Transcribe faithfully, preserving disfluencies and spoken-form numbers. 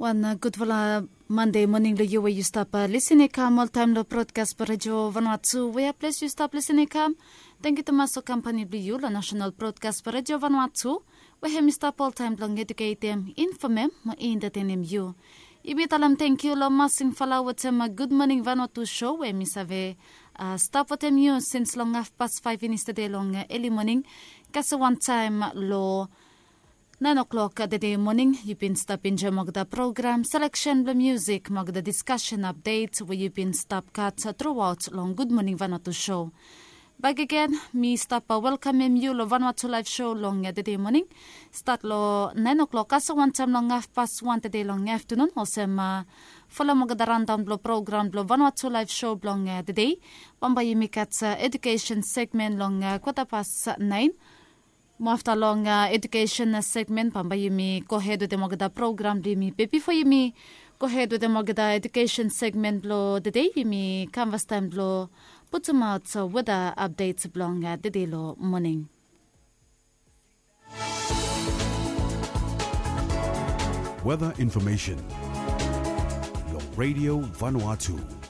Wan gudfala Mande moning long yu we yu stap lisin i kam oltaim long brodkas blong redio Vanuatu we ples yu stap lisin i kam. Tangkiu tumas long kampani blong yu long nasional brodkas blong redio Vanuatu we hem i stap oltaim blong eduketem, infomem mo entetenem yu. Yumi talem tangkiu long Masing Fala wetem Gud Moning Vanuatu show we mi save stap wetem yu sins long hafpas faif finis tede long eli moning. Kasem wantaim long naen oklok tede moning yu bin stap enjoem olgeta program, seleksen blong musik mo olgeta diskasen apdet we yu bin stap gat truaot long Gud Moning Vanuatu show. Bakegen mi stap welkamem yu long Vanuatu laef show long tede moning. Stat long naen oklok kasem wantaim long hafpas wan tede long aftanun olsem folem olgeta randaon blong program blong Vanuatu laef show blong tede. Bambae yumi gat edukesen segmen long kwatapas naen. Mo afta long edukesen segmen bambae yumi gohed wetem olgeta program blong yumi be bifo yumi gohed wetem olgeta edukesen segmen blong tede yumi kam fastaim blong putumaot weda apdet blong tede long moning. Weather information long Radio Vanuatu.